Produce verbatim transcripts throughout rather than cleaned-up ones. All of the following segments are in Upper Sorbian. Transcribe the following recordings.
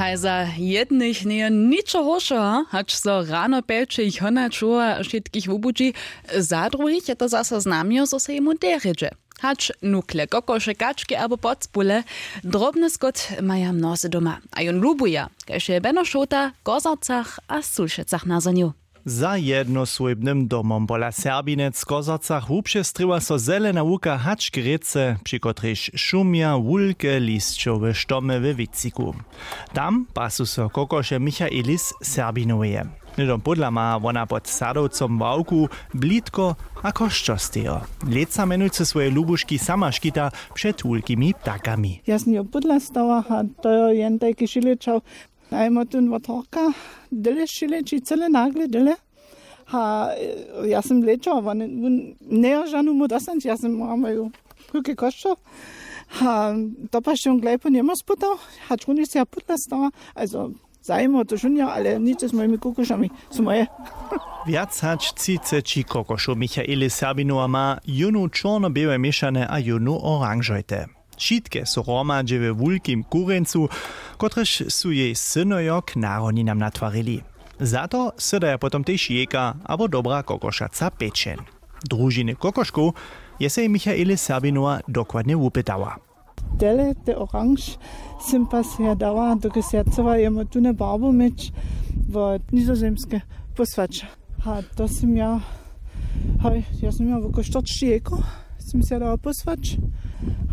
A za jednych njeje ničo horšeho, hač so rano pjelče jich hona čuwa, wšitkich wubudźi. Za druhich je to zaso znamjo, zo se jemu derje dźe. Hač nukle, kokoše, kački abo podspule, drobny skót maja mnozy doma a jón lubuja, kaž je beno šołta w Kozarcach a Sulšecach nazhonił. Za jednosłójbnym domom pola Serbinec w Kozarcach wupřestrěła so zelena łuka hač k rěce, při kotrejž šumja wulke lisćowe štomy we wětřiku. Tam pasu so kokoše Michaelis Serbinoweje. Hnydom pódla ma wona pod sadowcom ławku, blitko a kosćer stejo. Lětsa mjenujcy swoje lubuški sama škita před wulkimi ptakami. Ja sym jo pódla stała a to jo jen tajki šilečał. A jemo tón wot horka dyle šileči, cyle nagle dyle. A ja sym lečał, wón njejo žanu mu dostanć, ja sym mama ju kółke kosćer. A to pašće wón glejpo njemo sputał, hač runje se ja pódla stała. Also zajimo to šunjo, ale nic z mojimi kokošami su moje. Wjac hač třiceći kokošow Michaeli Serbinowa ma, jónu čorno-běłe měšane a jónu oranžojte. Wšitke su hromadźe we wulkim kurjeńcu, kotrež su jej synojo k narodninam natwarili. Za to sydaja potom tež jejka abo dobra kokošaca pečeń. Družiny kokoškow je sej Michaeli Serbinowa dokładnje wupytała. Tele te oranž sym pa seja dała, dokelž ja chcyła jemu tune barbu měć wot Nizozemske pósłać. A to sym ja, haj, ja sym ja woko štyrćići jejkow sym seja dała pósłać.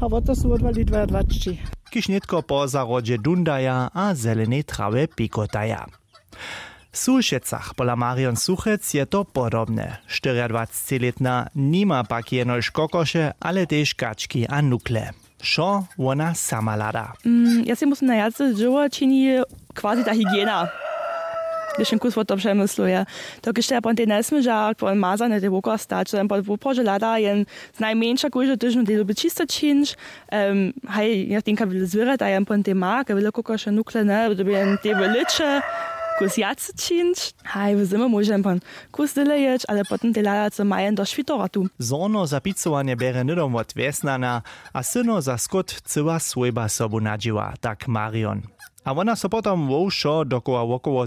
A wot to su wotwali dwajadwaćići, kiž nětko po zahrodźe dundaja a zelenej trawje pikotaja. W Sulšecach pola Marion Suchec je to podobne. Štyriadwacećilětna nima pak jenož kokoše, ale tež kački a nukle. Wšo wona sama hlada. Mm, ja sej musym na wjace dźěło čini, quasi ta hygiena. Hdyž jen kus wo to přemysluje, to kiž te pon tej njesměža pon mazane tej wokoła stać, to jen pon woprawdźe hlada jen znajmjeńša kóždy tydźeń tej dyrbje čisto čińć. Em, haj, ja tinka wjele zwěrjata jen pon tej ma, kaj wjele kokoše, nukle, ne, dyrbje jen tej w lěće kus wjace čińć. Haj, w zymje móže jen pon kus dyle jěć, ale potom tej hlada, co ma jen do šwitorotu. Zhorno za picowanje bjerje hnydom wot wjesnana a syno za skót cyła swójba sobu nadźěła, tak Marion. A wona so potom wo wšo dokoła wokoło